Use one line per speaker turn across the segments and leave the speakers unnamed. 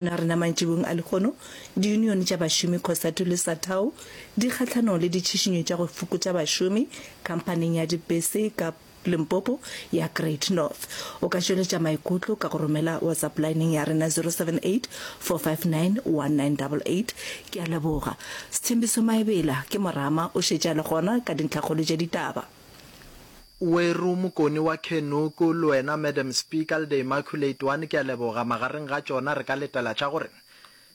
Na rena mantšibong a lehono, diyunione tša bašomi Cosatu le Satau di kgahlanong le ditšhišinyo tša go fokotša bašomi khamphaning ya dipese ka Limpopo ya Great North. O ka tšweletša maikutlo ka go romela WhatsApp lineng ya rena 078 459 1988. Ke a leboga. Sthembiso Maebela ke morama o šetše a le gona ka dintlhakgolo tša ditaba.
Weru Mokoni wa Khenuku, le wena Madam Speaker le the Immaculate One, ke a leboga. Magareng ga tšona re ka letela tša gore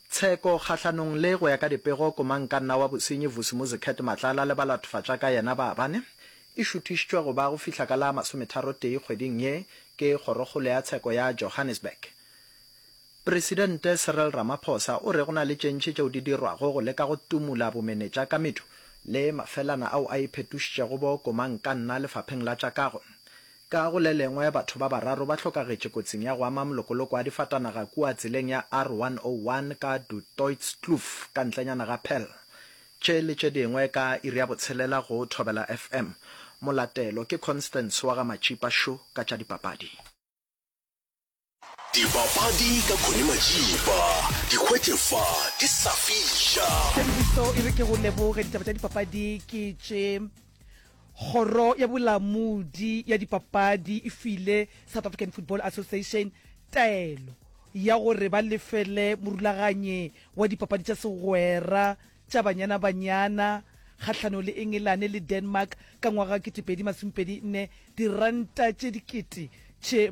tsheko kgahlanong le, go ya ka dipego, komangkanna wa bosenyi Vusimuzi Cat Matlala le balatofatša ka yena ba bane e šuthišitšwe go ba go fihla ka la masometharotee kgweding ye ke Kgorokgolo ya Tsheko ya Johannesburg. Presidente Cyril Ramaphosa o re go na le tše ntši tšeo di dirwago go leka go tumula bomenetša ka medu le mafelana ao a iphetošitšego bo komangkanna lefapheng la tša kago. Ka go le lengwe, batho ba bararo ba hlokagetše kotsing ya go ama molokoloko wa difatanaga kua tseleng ya R101 ka Du Toitskloof ka ntlenyana ga Paarl. Tše le tše dingwe ka iri ya botshelela go Thobela FM. Molatelo ke Constance wa ga Matšipa Sho ka tša dipapadi.
Dipapadi ka Connie Majiba, di hwetše fa di sa fiša.
Tshempiso e re ke go leboge. Ditaba tša dipapadi ke tše. Kgoro ya Bolamodi ya Dipapadi e file South African Football Association taelo ya gore ba lefele morulaganyi wa dipapadi tša segwera tša Banyana Banyana kgahlanong le Engelane le Denmark ka ngwaga wa 2024 diranta tše 500,000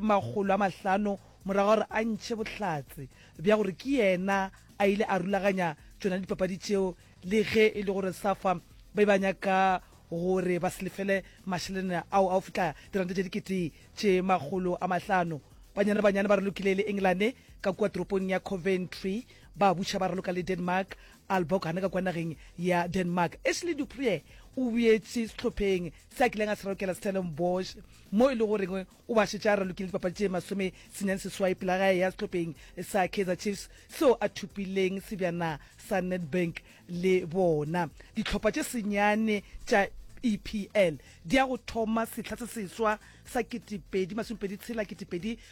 morago ga gore a ntšhe bohlatse bja gore ke yena a ile a rulaganya tšona dipapadi tšeo le ge e le gore Safa ba be ba nyaka gore ba se lefele mašeleng ao a go fihla diranta tše 500,000. Banyana Banyana ba ralokile le Engelane ka kua toropong ya Coventry ba buša ba raloka le Denmark Aalborg gana ka kua nageng ya Denmark. Ashley du Preez o boetše sehlopheng se a kileng a se ralokela Stellenbosch mo e le goreng o ba šetše a ralokile dipapadi tše 98 pele ga a eya sehlopheng sa Kaizer Chiefs seo a thopileng sebjana sa Nedbank le bona. Dihlopha tše senyane tša EPL di ya go thoma sehla se seswa sa 2026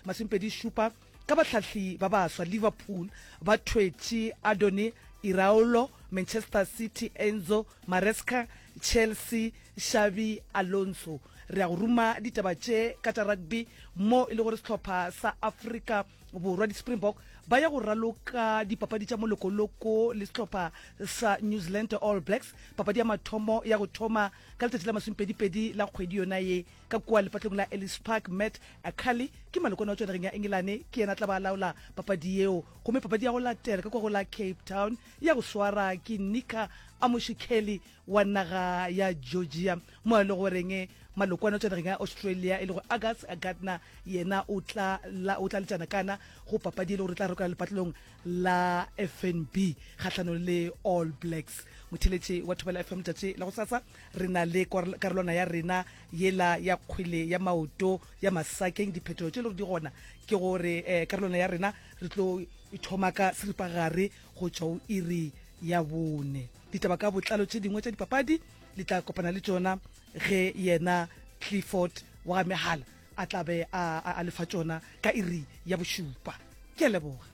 2027 Ka bahlahli ba baswa, Liverpool ba thwetše Adoni Iraola, Manchester City Enzo Maresca, Chelsea Xabi Alonso. Re ya go ruma ditaba tše ka tša rugby mo e le gore sehlopha sa Afrika Borwa di-Springbok ba ya go raloka dipapadi tša molokoloko le sehlopha sa New Zealand All Blacks. Papadi ya mathomo ya go thoma ka letšatši la masomepedipedi la kgwedi yona ye Ka kua lepatlong la Ellis Park, Matt Ackerley ke malokwane wa tšwa nageng ya Engelane, ke yena a tla ba a laola papadi yeo. Gomme papadi ya go latela ka kua go la Cape Town ya go swara ke Nika Amushikeli wa naga ya Georgia, mo e le goreng malokwane wa tšwa nageng ya Australia e lego Angus Gardner yena o tla la o tla letšana kana go papadi e le gore e tla rokela lepatlelong la FNB kgahlanong le All Blacks. Motheeletši wa Thobela FM letšatši la gosasa re na le karolwana ya rena yela ya kgwele ya maoto ya masakeng. Diphetogo tše e le gore di gona ke gore um karolwana ya rena re tlo e thoma ka seripagare go tšwa go iri ya bone. Ditaba ka botlalo tše dingwe tša dipapadi le tla kopana le tšona ge yena Clifford wa ga Mehala a tla be a, a, a lefa tšona ka iri ya bošupa. Ke a leboga.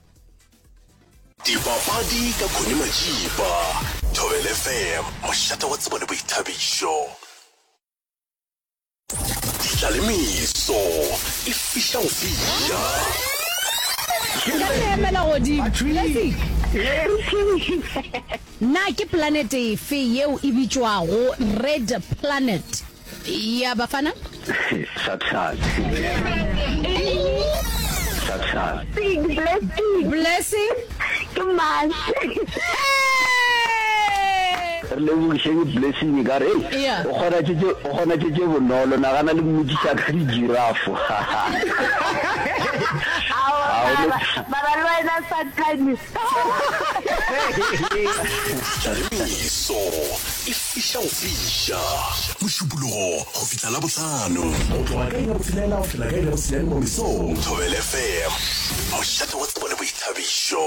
Dipapadi ka Connie Majiba, Thobela FM, mošate wa tsebo le boithabišo. Ditlalemeso e fiša go fiša.
Ka re emela godimo. Blessing. Na ke planete efe yeo e bitšwago Red Planet? Ya Bafana?
Sathane. Sathane.
Blessing.
Blessing.
Ke Mars.
Re lebogiše ke Blessing ka re
Yeah.
o kgona tše tše o kgona tše tše bonolo nagana le mmotšiša ka dijirafo.
Aowa, mara, mara le wena Sathane.
Tlalemeso e fiša go fiša. Mošupologo go fihla Labohlano. Go tloga ka iri ya botshelela go fihla ka iri ya bosenyane mo mesong. Thobela FM, mošate wa tsebo le boithabišo.